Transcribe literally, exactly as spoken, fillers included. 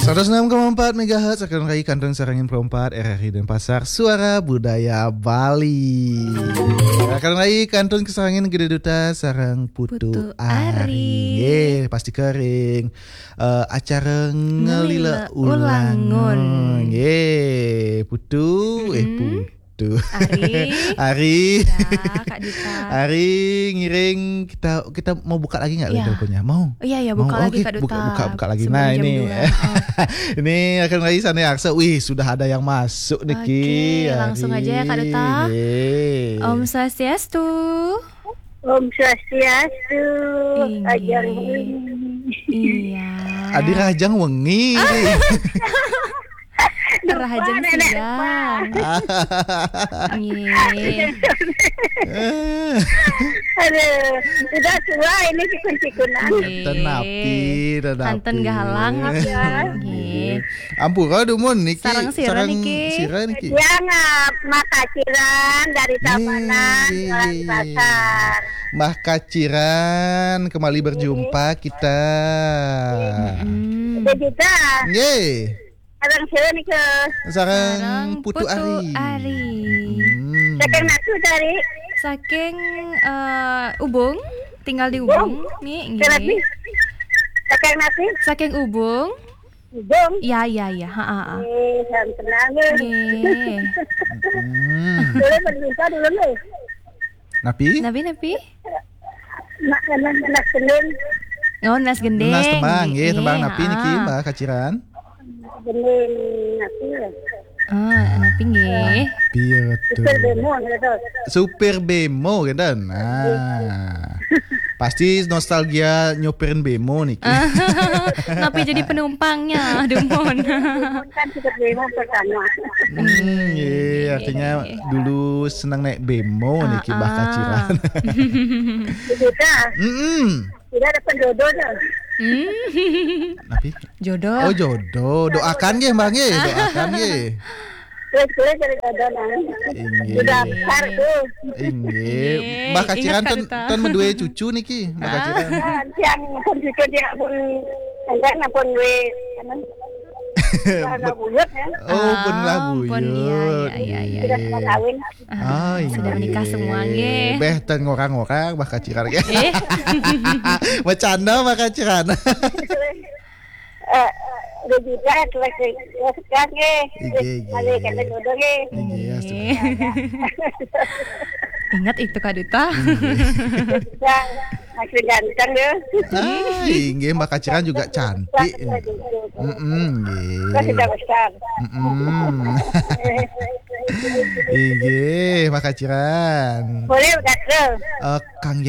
Seratus enam koma empat megahertz, akan rai kantun sareng Info empat R R I Denpasar, Suara Budaya Bali. Akan rai kantun kasarengin Gede Duta sareng Putu Putu Ari. Ari. Nggih, pasti kering. Eh, acara Ngelila Ngelila Ulangun. Ulangun. Nggih, Putu, eh, Mm-mm. Putu. Ari. Ari. Ya, Kak Duta. Ari, ngiring, kita kita mau buka lagi nggak, ya, teleponnya? Mau? Iya, iya, mau. Buka lagi, oke, Kak Duta. Buka, buka, buka lagi. Sebelum jam dua. Nah, ini. Oh. Ini akan lagi sana ya, Aksa. Wih, sudah ada yang masuk niki. Oke, langsung aja ya, Kak Duta. Ari. Nggih. Om Swastiastu. Om Swastiastu. Inggih. Rahajeng wengi. Iya. Adi rahajeng wengi. Ah. Rahajeng siang. Nggih. Aduh, sudah tua ini cikun-cikunan. Nggih. Ten napi, ten napi. Kanten gahalang, ya. Nggih. Ampura dumun niki. Sareng sira niki. Sareng sira niki. Dia nggak Mbah Kaciran dari Tabanan, nggih, Jalan Pasar. Mbah Kaciran, kembali berjumpa kita. Mm-mm. Udah juga. Nggih. Sareng sira nika. Sareng Putu Ari. Putu Ari. Hmm. Saking napi tadi? Saking, eh, Ubung, tinggal di Ubung. Ubung. Nggih, nggih. Saking napi? Saking Ubung. Ubung? Ya, ya, ya. Ha, ha, ha. Eh, salam kenal, nggih. Nggih. Hmm. Boleh berjumpa dulu, nggih. Napi? Napi, napi? Nak, nak, nak gending. Oh, nas gending. Nas tembang, nggih, nggih, tembang napi niki, ha, Mbah Kaciran? Gending napi ya? Ah, napi nggih? Piye to? Supir bemo, gitu. Supir bemo, gitu. Nah. Pasti nostalgia nyopirin bemo niki. Napi jadi penumpangnya, dumun. Kan supir bemo pertama. Hmm, iya, artinya dulu seneng naik bemo niki, Mbah Kaciran. Gitu. Mm-mm. Tidak ada penjodoh dah. Hmm. Napi? Jodoh. Oh, jodoh. Doakan nggih, Mbah nggih. Doakan nggih. Terus, terus dari jodoh, nah. Inggih. Sudah besar tuh. Inggih. Inggih. Mbah Kaciran ingat, Kak Duta, ten, ten menduwe cucu niki, Mbah Kaciran. Ah, yang pun cucu dia pun, enggak, pun duwe, apa? Mbah buyut, ya. Oh, pun lah buyut. Ah, pun, iya, iya, iya, iya. Sudah kawin. Ah, sudah menikah semua, nggih. Beh, ten ngorang-ngorang, Mbah Kaciran, nggih. Eh. Bercanda, Mbah Kaciran. Eh, udah juga, terus, terus, nggih. Nggih, nggih. Balik ke jodoh, nggih. Nggih, ya, sudah. Ingat itu, Kak Duta. Nggih. Sudah. Masih ganteng, ya. Ah, inggih, Mbah Kaciran juga cantik. Mm-mm, nggih. Kan sudah besar. Mm-mm. Inggih, Mbah Kaciran. Boleh, Kak, Bro? Eh, Kang